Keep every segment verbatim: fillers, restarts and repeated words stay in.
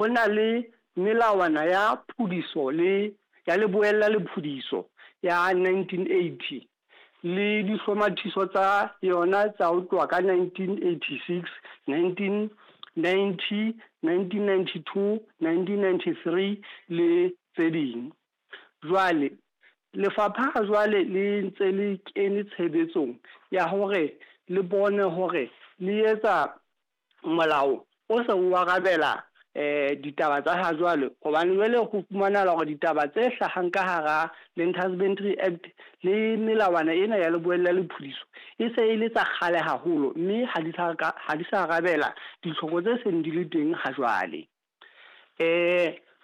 Ho na le melawana ya phudiso le ya leboella le phudiso ya nineteen eighty le dihlomathiso tsa yona tsa ho tloha ka nineteen eighty six, nineteen ninety, nineteen ninety two, nineteen ninety three le tse ding. Jwale lefapha ha jwale le ntse le kene tshebetsong ya hore le bone hore le etsa molao o se o arabela ditaba tsa ha jwale. Hobane jwale ho fumanahala hore ditaba tse hlahang ka hara Land Husbandry Act le melawana ena ya leboella le phudiso e se e le tsa kgale haholo, mme ha di sa ha di sa arabela ditlhoko tse seng di le teng ha jwale.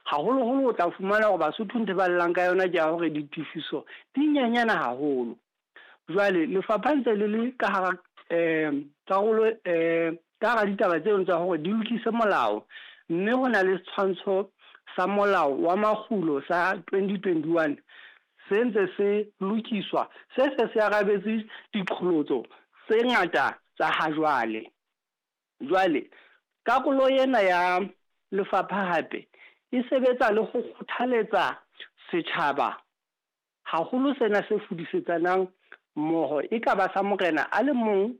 Haholoholo o tla fumana hore Basotho ntho e ba llang ka yona ke ya hore ditefiso di nyenyane haholo. Jwale lefapha ntse le le ka hara karolo ka hara ditaba tseno tsa hore di lokise molao, mme ho na le setshwantsho sa molao wa makgulo sa twenty twenty one se ntse se lokiswa, se se se arabetse diqholotso tse ngata tsa ha jwale. Jwale karolo ena ya lefapha hape e sebetsa le ho kgothaletsa setjhaba haholo sena se fudisetsanang mmoho, e ka ba sa morena a le mong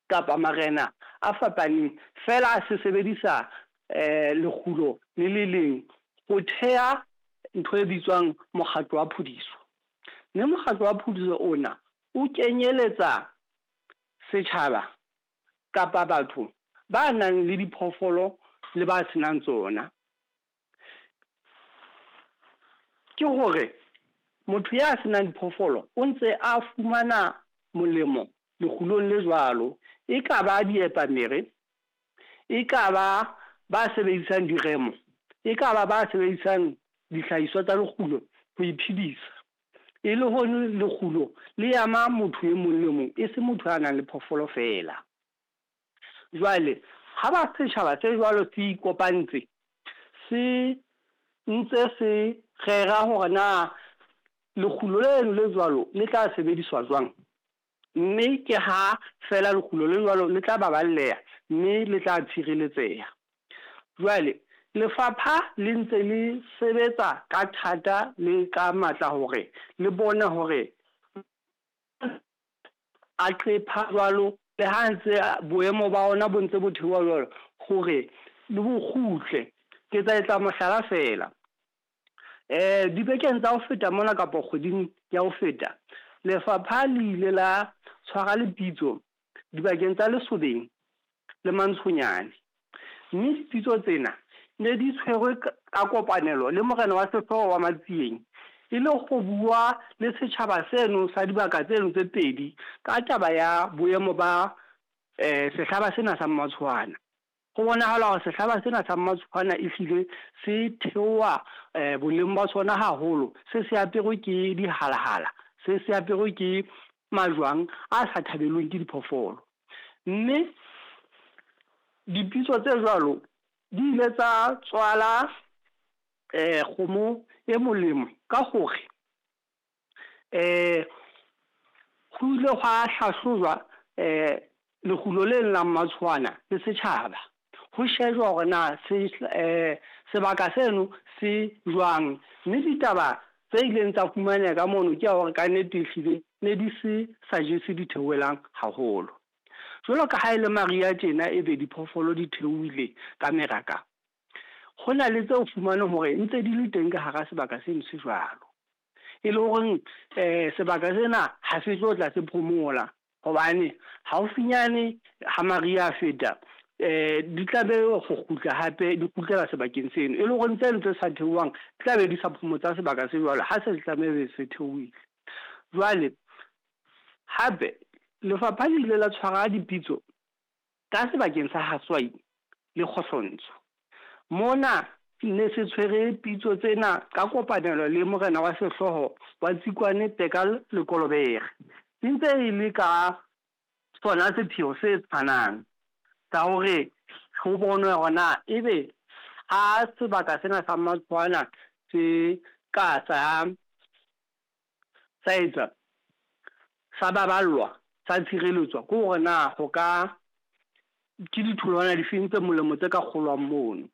kapa marena a fapaneng feela se sebedisa lekgulo le le leng ho theha ntho e bitswang mokgatlo wa phudiso. Mme mokgatlo wa phudiso ona o kenyeletsa setjhaba kapa batho ba nang le diphoofolo le ba senang tsona. Ke hore motho ya senang diphoofolo o ntse a fumana molemo lekgulong le jwalo. E ka ba diepamere, e ka ba ba sebedisang diremo, e ka ba ba sebedisang dihlahiswa tsa lekgulo ho iphedisa. E le hore lekgulo le ama motho e mong le mong, e se motho a nang le phoofolo feela. Jwale ha ba setjhaba se jwalo se ikopantse, se ntse se rera hore na lekgulo leno le jwalo le tla sebediswa jwang. Mme ke ha feela lekgulo le jwalo le tla baballeha, mme le tla tshireletseha. Jwale lefapha le ntse le sebetsa ka thata le ka matla hore le bone hore a qepha jwalo le ha ntse boemo ba ona bo ntse bo theoha jwalo hore le bo kgutle. Ke tla etsa mohlala feela. Dibekeng tsa ho feta mona kapa kgweding ya ho feta, lefapha le ile la tshwara lepitso dibakeng tsa Lesobeng le Mantshonyane. Mme dipitso tsena ne di tshwerwe ka kopanelo le morena wa sehlooho wa Matsieng, e le ho bua le setjhaba seno sa dibaka tseno tse pedi ka taba ya boemo ba sehlaba sena sa Mmatshwana. Ho bonahala hore sehlaba sena sa Mmatshwana ehlile se theoha boleng ba sona haholo, se se aperwe ke dihalahala, se se aperwe ke majwang a sa thabelweng ke diphoofolo. Mme dipitso tse jwalo di ile tsa tswala kgomo e molemo ka hore ho ile hwa hlahlojwa lekgulo leno la Mmatshwana le setjhaba. Ho shejwa hore na se sebaka seno se jwang, mme ditaba tse ileng tsa fumaneha ka mono ke ya hore kannete ehlile ne di se sa jese ditheohelang haholo. Jwalo ka ha e le mariha tjena ebe diphoofolo di theohile ka meraka, ho na le tseo fumaneng hore ntse di le teng ka hara sebaka seno se jwalo. E le horeng sebaka sena ha se tlo tla se phomola hobane haufinyane ha mariha a feta di tla be ho kgutla hape di kgutlela sebakeng seno. E le hore tseno tse sa theohang di tla be di sa phomotsa sebaka se jwalo ha se tlameha se theohile. Jwale hape lefapha le ile la tshwara dipitso ka sebakeng sa Haswai le Kgohlontsho. Mona ne se tshwere pitso tsena ka kopanelo le morena wa sehlooho wa Tsikwane Peka Lekolobere. E ntse e le ka sona sepheo se tshwanang sa hore ho bonwe hore na ebe ha sebaka sena sa Mmatshwana se ka sa sa etsa sa baballwa, sa tshireletswa, ke hore na ho ka ke ditholwana difeng tse molemo tse ka kgolwang mono.